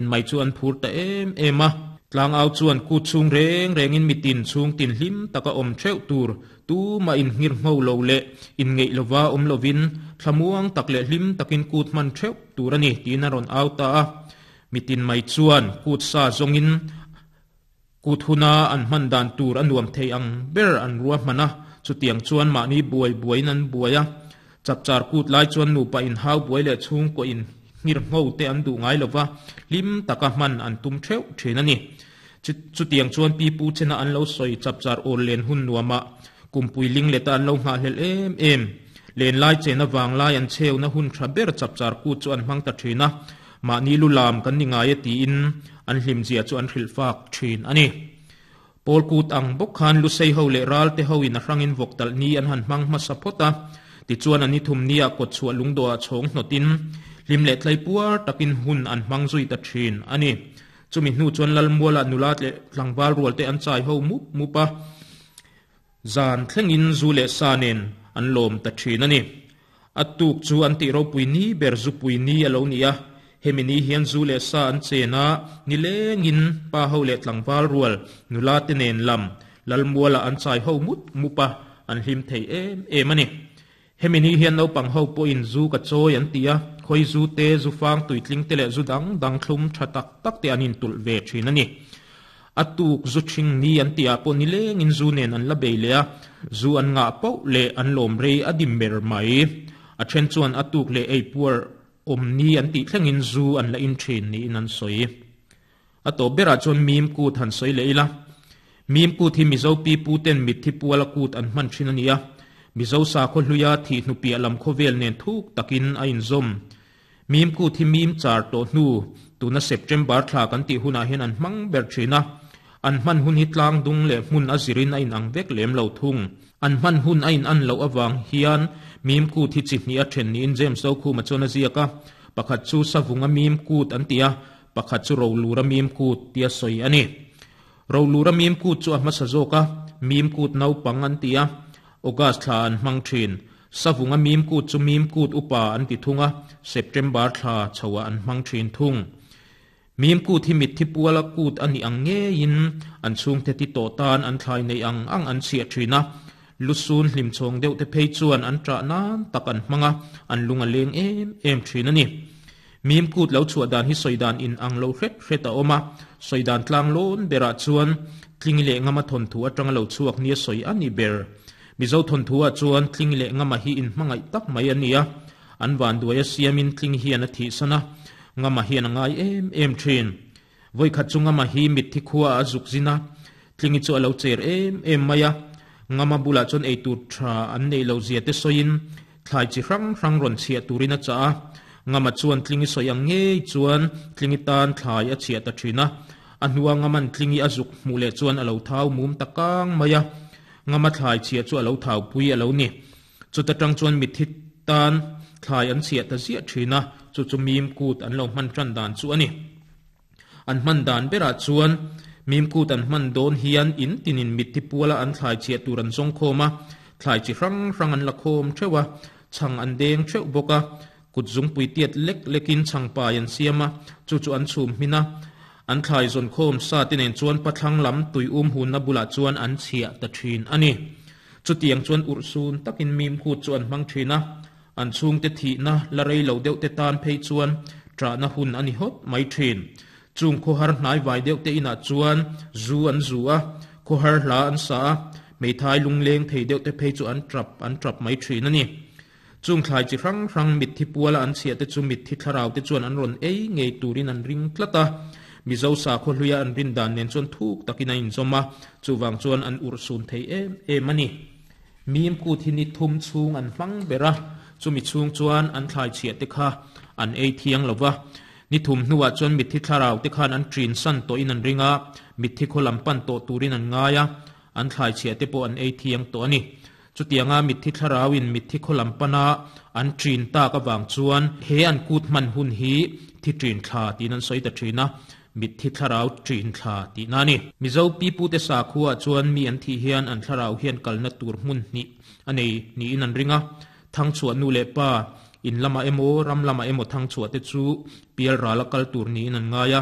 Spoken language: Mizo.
Mai chu an phur ta em em a. Tlangau chuan kut chhung reng rengin mitin chhung tin hlim taka awm theuh tur tumah inngir ngho lo leh inngeih lova awm lovin thlamuang tak leh hlim takin kut hman theuh tur a ni tiin a rawn au ta a. Mitin mai chuan kut sa zawngin kut huna an hman dan tur a nuam thei ang ber an ruahman a, chutiang chuan mahni buai buaiin an buai a. Chapchar kut lai chuan nupa inhau buai leh chhungkaw in nghirngho te an duh ngai lova, hlim taka hman an tum theuh thin a ni. Chutiang chuan pi pu chena an lo sawi chapchar awl len hun nuamah kumpui ling leta an lo nghahhlelh em em. Len lai chena vanglai an chheuna hun tha ber chapchar kut chu an hmang ta thin a, mahni lu lam kan ni ngai e tiin an hlimzia chu an hrilh fak thin a ni. Pawl kut ang bawk khan Lusei ho leh Ralte ho in a hrangin vawk talh ni an han hmang hmasa phawt a, tichuan a ni thum nia kawt chhuah lungdawhah chhawng hnawtin hlim leh tlai puar takin hun an hmang zui ta thin a ni. Chumi hnu chuan Lalmualah nula leh tlangval rual te an chai ho mup mup a, zan thlengin zu leh sa nen an lawm ta thin a ni. A tuk chu an tih ropui ni ber zupui ni a lo ni a, hemi ni hian zu leh sa an chen a, nilengin pa ho leh tlangval rual nula te nen lam Lalmualah an chai ho mup mup a, an hlim thei em em a ni. Hemi ni hian naupang ho pawhin zu ka chawi an ti a, khawi zu te, zu fang tuitling te leh zu dang dang thlum tha tak tak te an intulh ve thin a ni. A tuk zu ṭhing ni an tihah pawh nilengin zu nen an la bei leh a, zu an ngah poh leh an lawm rei a dim ber mai. A ṭhen chuan a tuk leh ei puar awm ni an tih thlengin zu an la in ṭhin niin an sawi. A tawp berah chuan mim kut han sawi leh ila. Mim kut hi Mizo pi pu ten mitthi puala kut an hman ṭhin a ni a, Mizo sakhaw hluia thih hnupiah lam khawvel nen thuk takin a inzawm. Mim kut hi mim char tawh hnu, tuna September thla kan tih hunah hian an hmang ber thin a. An hman hun hi tlang dung leh hmun a zirin a inang vek lem lo thung. An hman hun a inan loh avang hian mim kut hi chi hnih a then niin James Zokhuma chuan a ziak a. Pakhat chu Savunga mim kut an ti a, pakhat chu Rolura mim kut tia sawi a ni. Rolura mim kut chu a hmasa zawk a, mim kut naupang an ti a, August thla an hmang thin. Savunga mim kut chu mim kut upa an ti thung a, September thla chhoah an hmang thin thung. Mim kut hi mitthi puala kut a nih ang ngeiin an chhungte ti tawh tan an thlai neih ang ang an chhiah thin a, lusun hlimchhawng deuh te phei chuan an ṭah nan tak an hmang a, an lung a leng em em thin a ni. Mim kut lo chhuah dan hi sawi dan in ang lo hret hret a awm a, sawi dan tlang lawn berah chuan Tlingi leh Ngama thawnthu atanga lo chhuak nia sawi a ni ber. Mizo thawnthu ah chuan Tlingi leh Ngama hi inhmangaih tak mai a ni a, an vanduai a siamin Tlingi hian a thihsan a, Ngama hian a ngai em em thin. Vawikhat chu Ngama hi mitthi khua ah a zuk zin a, Tlingi chu a lo cher em em mai a, Ngama bulah chuan eitur tha an neih loh zia te sawiin thlai chi hrang hrang rawn chhiah turin a chah a, Ngama chuan Tlingi sawi ang ngei chuan Tlingi tan thlai a chhiah ta thin a, a hnua Ngaman Tlingi a zuk hmuh leh chuan a lo thau mum ta kang mai a. Ngama thlai chhiah chu a lo thaupui a lo ni. Chuta tang chuan mitthi tan thlai an chhiah ta ziah thin a, chu chu mim kut an lo hman tan dan chu a ni. An hman dan berah chuan mim kut an hman dawn hian in tinin mitthi puala an thlai chhiah tur an zawng khawm a, thlai chi hrang hrang an la khawm theuh a, chhang an deng theuh bawk a, Kut zungpui tiat lek lekin chhangpai an siam a, chu chu an chhum hmin a. An thlai zawn khawm sa te nen chuan pathlang lam tui um hunna bulah chuan an chhiah ta thin a ni. Chutiang chuan urhsun takin mim kut chu an hmang thin a, an chhungte thihna la rei lo deuh te tan phei chuan ṭahna hun a ni hawt mai thin. Chung khawhar hnai vai deuh te inah chuan zu an zu a, khawhar hla an sa a, hmeithai lungleng thei deuh te phei chu an ṭap an ṭap mai thin a ni. Chung thlai chi hrang hrang mitthi puala an chhiah te chu mitthi thlarau te chuan an rawn ei ngei turin an ring tlat a. Mizo sakhaw hluia an rin dan nen chuan thuk takin a inzawm a, chuvang chuan an urhsun thei em em a ni. Mim kut hi ni thum chhung an hmang ber a, chumi chhung chuan an thlai chhiah te kha an ei thiang lo va. Ni thum hnuah chuan mitthi thlarau te khan an ṭin san tawhin an ring a, mitthi khaw lam pan tawh turin an ngai a, an thlai chhiah te pawh an ei thiang tawh a ni. Chutianga mitthi thlarauin mitthi khaw lam pana an ṭin tak avang chuan he an kut hman hun hi thi ṭin thla tiin an sawi ta ṭhin a, mitthi thlarau ṭin thla tihna a ni. Mizo pipute sakhuaah chuan mi an thih hian an thlarau hian kalna tur hmun hnih a nei niin an ring a, Thangchhuah nu leh pa, In lamah emaw, ram lamah emaw thangchhuah te chu pialrala kal tur niin an ngai a.